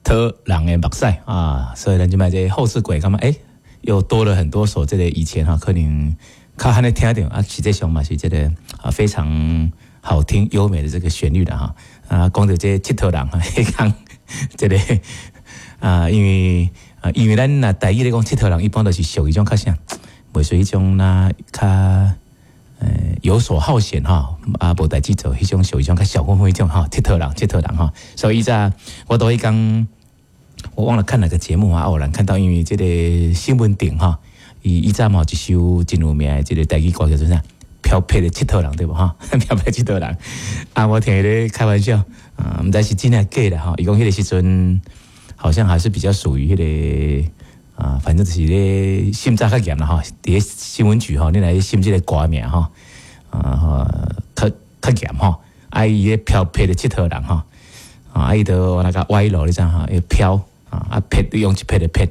佗人的目屎啊，所以咱這擺這後世鬼感覺又多了很多首這個以前哈可能較罕咧聽著啊，實際上嘛是這個啊非常好聽優美的這個旋律的哈啊，講著這𨑨迌人哈，彼工這個啊，因為咱若台語咧講𨑨迌人，一般都是屬於種較啥，袂屬於種那較遊手好閒哈，啊無代誌做，彼種屬於種較小混混彼種哈，𨑨迌人，𨑨迌人哈，所以早我都彼工，我忘了看哪個節目啊，偶然看到，因為這個新聞頂哈，伊以前嘛有一首真有名的這個台語歌叫做啥？飄撇的𨑨迌人對無哈？飄撇𨑨迌人啊，我聽伊咧開玩笑啊，毋知是真抑假啦哈。伊講彼個時陣好像還是比較屬於彼個啊，反正就是咧審查較嚴啦哈。佇咧新聞局吼，你來審這個歌名吼，啊，較較嚴吼。啊，伊咧飄撇的𨑨迌人吼，啊，伊就那個歪路你知吼，伊飄啊，啊撇用一撇的撇，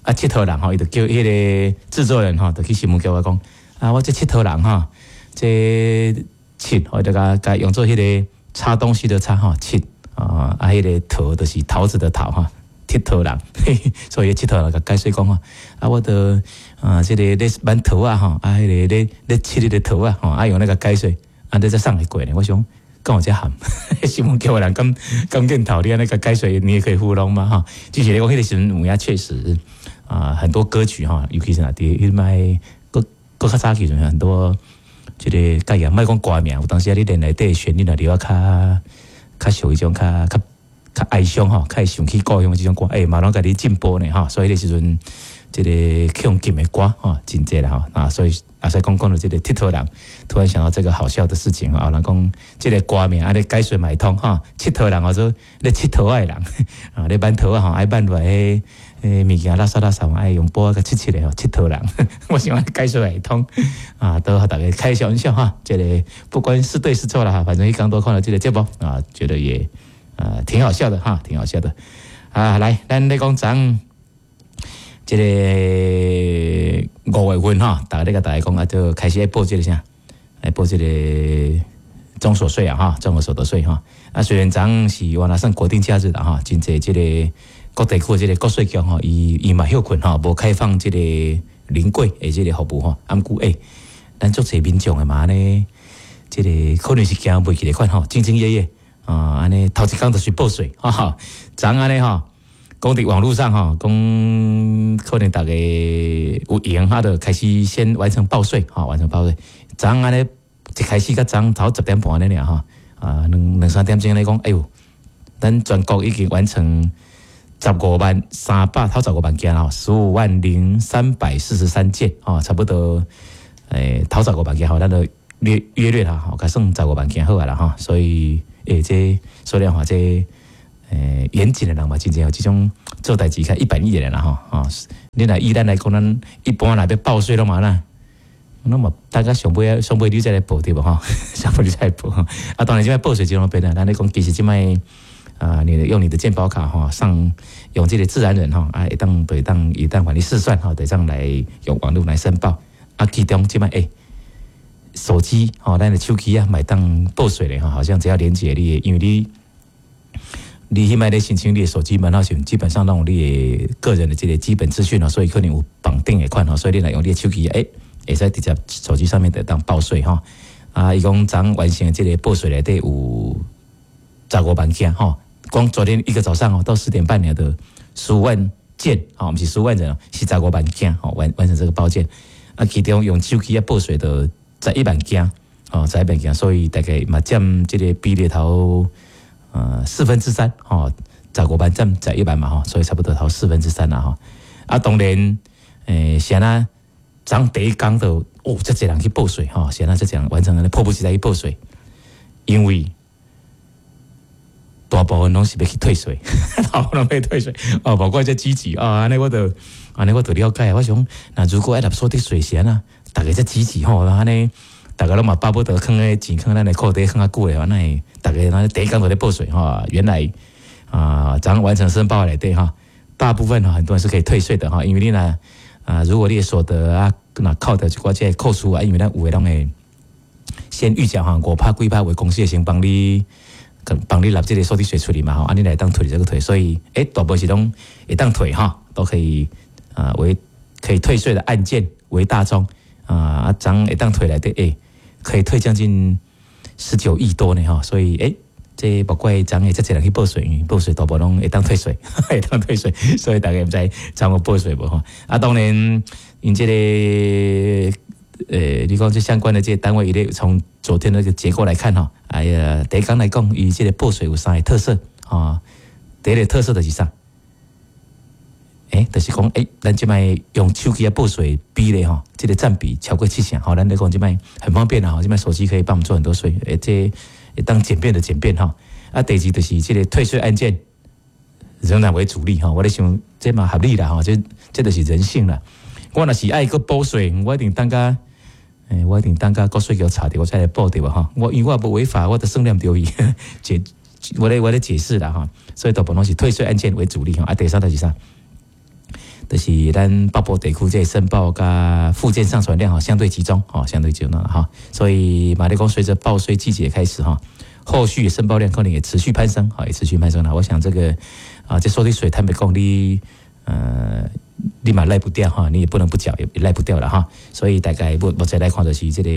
啊𨑨迌人吼，伊就叫彼個製作人吼，就去新聞局我講啊，我這𨑨迌人吼，這𨑨我就共共用做彼個插東西的插吼，𨑨啊，啊彼個桃就是桃子的桃哈，𨑨迌人，所以𨑨迌人共解釋講吼，啊我著啊這個咧挽桃仔吼，啊彼個咧咧𨑨彼個桃仔吼，啊用那個解說，啊你才送會過呢，我想敢有遮譀，新聞局的人敢敢鏡頭你按呢共解說，你也可以糊弄嗎？哈，就是咧講彼個時陣有影確實啊，很多歌曲哈，尤其是若佇彼擺閣閣較早期陣很多這個概念，莫講歌名，有當時啊你連內底旋律若著較較屬於種較較較哀傷吼，較會想起故鄉這種歌，嘛攏共你進步呢吼，所以彼個時陣這個去予禁的歌吼，真濟啦吼啊，所以阿使講講著這個𨑨迌人，突然想到這個好笑的事情啊，人講這個歌名按呢解說嘛會通吼，𨑨迌人叫做咧𨑨迌仔的人啊，咧挽桃仔吼，愛挽落來彼物件垃圾垃圾，愛用布仔共𨑨𨑨的吼，𨑨迌人，我想按呢解說會通啊，都予大家開小玩笑哈，這個不管是對是錯啦哈，反正彼工都看了這個節目啊，覺得也啊挺好笑的哈，挺好笑的啊，來，咱咧講昨這個5月份哈，大家咧共大家講啊，就開始愛報這個啥，愛報這個綜所稅啊哈，綜合所得稅哈。啊，雖然昨是原來算國定假日啦哈，真濟這個各地區這個國稅局吼，伊伊嘛歇睏吼，無開放這個臨櫃的這個服務吼。啊，毋過咱足濟民眾的嘛按呢，這個可能是驚袂記得款吼，兢兢業業啊，按呢頭一工就去報稅，哈哈，昨按呢吼。講佇網路上吼，講可能大家有閒，哈，就開始先完成報稅，吼，完成報稅。昨按呢一開始較早頭10點半按呢爾吼，啊，兩兩三點鐘咧講，哎喲，咱全國已經完成十五萬三百頭十五萬件吼，150,343件，吼，差不多，頭十五萬件吼，咱就約約略啦，吼，共算十五萬件好啊啦，吼，所以，這數量話這。嚴謹的人嘛，真正有這種做代誌較一板一眼的啦吼，吼，你若以咱來講，咱一般若欲報稅攏嘛啦，攏嘛大概上尾上尾你才來報對無吼？上尾你才來報，啊，當然這擺報稅真方便啦。咱咧講其實這擺啊，你用你的健保卡吼，上用這個自然人吼，啊，會當會當會當幫你試算吼，會當來用網路來申報。啊，其中這擺手機吼，咱的手機啊，嘛會當報稅咧吼，好像只要連接你的，因為你。你彼擺咧申請你的手機門號時，基本上攏有你的個人的這個基本資訊哦，所以可能有綁定的款吼，所以你若用你的手機，會使直接手機上面就當報稅吼。啊，伊講昨完成這個報稅內底有十五萬件吼，光昨天一個早上哦，到4點半了的15萬件，吼，毋是15萬人哦，是十五萬件吼，完成這個報件。啊，其中用手機仔報稅的11萬件，哦，十一萬件，所以大概嘛佔這個比例頭。四分之三，吼，十五萬佔十一萬嘛，吼，所以差不多頭四分之三啦，吼。啊，當然，是按怎昨第一工就哦，遮濟人去報稅，吼，是按怎遮濟人完成按呢迫不及待去報稅，因為大部分攏是欲去退稅，大部分攏欲退稅，哦，無怪遮積極啊，按呢我就按呢我就了解，我想，若如果愛納所得稅是按怎，逐家遮積極吼，按呢。逐家攏嘛巴不得囥彼錢囥咱的褲底囥較久的話，那會逐家那第一工就咧報稅吼。原來啊，昨完成申報內底哈，大部分哈很多人是可以退稅的哈，因為你若啊，如果你的所得啊，若扣掉一寡這個扣除啊，因為咱有的攏會先預繳哈，5趴幾趴為公司會先幫你幫你納這個所得稅處理嘛吼，啊你會當退這個退，所以大部分是攏會當退哈，都可以啊為可以退稅的案件為大宗啊，啊，昨會當退來的可以退將近19億多呢哈，所以這無怪昨會遮濟人去報稅，因為報稅大部分攏會當退稅，會當退稅，所以大家毋知昨有報稅無吼。啊，當然𪜶這個你講這相關的這個單位，伊咧從昨天那個結構來看吼，哎呀，第一講來講，伊這個報稅有三個特色啊，第一個特色就是啥？就是講，咱這擺用手機來報稅比例吼，這個佔比超過七成，吼，咱咧講這擺很方便啊，這擺手機可以幫我們做很多稅，這會當簡便的簡便吼。啊，第二就是這個退稅案件仍然為主力吼，我咧想這嘛合理啦吼，這就是人性啦。我若是愛閣報稅，我一定等甲，我一定等甲國稅局查著，我才來報對無吼。我因為我無違法，我都算念著伊，解我咧解釋啦吼。所以大部分攏是退稅案件為主力吼。啊，第三就是啥？就是咱北部地區這個申報佮附件上傳量吼相對集中吼，相對集中啦哈。所以嘛咧講，隨着報稅季節開始哈，後續申報量可能也持續攀升，哈，也持續攀升啦。我想這個啊，這所得稅坦白講，你嘛賴不掉哈，你也不能不繳，也賴不掉了哈。所以大概目前來看，就是這個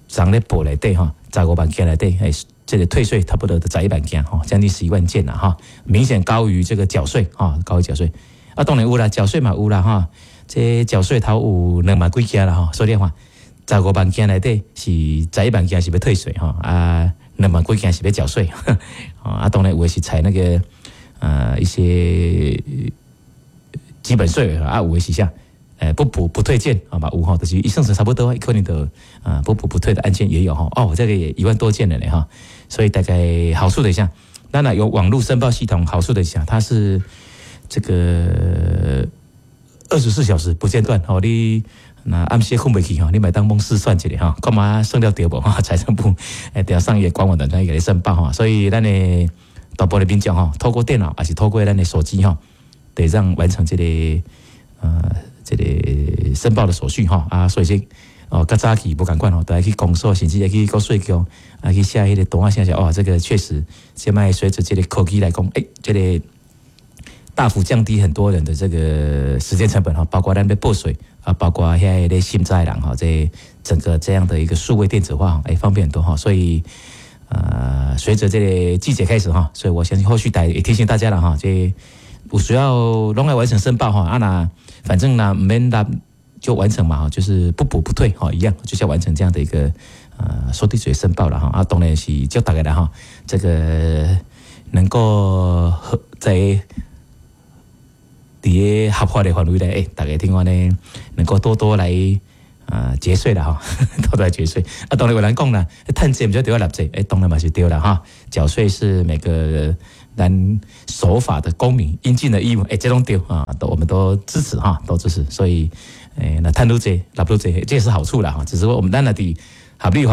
昨咧報內底哈，15萬件內底，這個退稅差不多11萬件哈，將近11萬件啦哈，明顯高於這個繳稅哈，高於繳稅。啊，當然有啦，繳稅嘛有啦哈，這繳稅頭有2萬幾件啦哈，所以話十五萬件內底是十一萬件是欲退稅哈，啊，兩萬幾件是欲繳稅，啊，當然有的是採那個一些基本稅啊，有的是啥？不補不退件啊嘛有吼，就是伊算算差不多，可能就啊不補不退的案件也有哈。哦，這個也1萬多件了呢哈，所以大概好處的一下，當然有網路申報系統好處的一下，它是這個24小時不間斷吼，你若暗時睏袂去吼，你嘛會當罔試算一下吼，看覓算了對無哈？財政部定上伊官網等陣給你申報吼，所以咱的大部分的民眾吼，透過電腦還是透過咱的手機吼，得讓完成這個申報的手續吼啊，所以說哦，較早期無仝款吼，都愛去公所，甚至愛去國稅局，啊去寫彼個單仔寫寫，哦，這個確實，現在隨著這個科技來講，這個大幅降低很多人的這個時間成本哈，包括咱欲報稅啊，包括遐個咧審查的人哈，這整個這樣的一個數位電子化，方便很多哈，所以隨着這個季節開始哈，所以我相信後續大也提醒大家了哈，這有需要攏愛完成申報哈，啊那反正呢，毋免納就完成嘛，就是不補不退哈，一樣就是要完成這樣的一個所得稅申報了哈，啊當然是祝大家啦哈，這個能夠在佇個合法的範圍內，大家聽講呢，能夠多多來啊節稅啦哈，多多來節稅。啊，當然有人講啦，趁濟毋是著愛納稅，當然嘛是對啦哈。繳稅是每個咱守法的公民應盡的義務，這攏對啊，都我們都支持哈，都支持。所以，那趁愈濟，納愈濟，這也是好處啦哈。只是說我們咱若佇合理。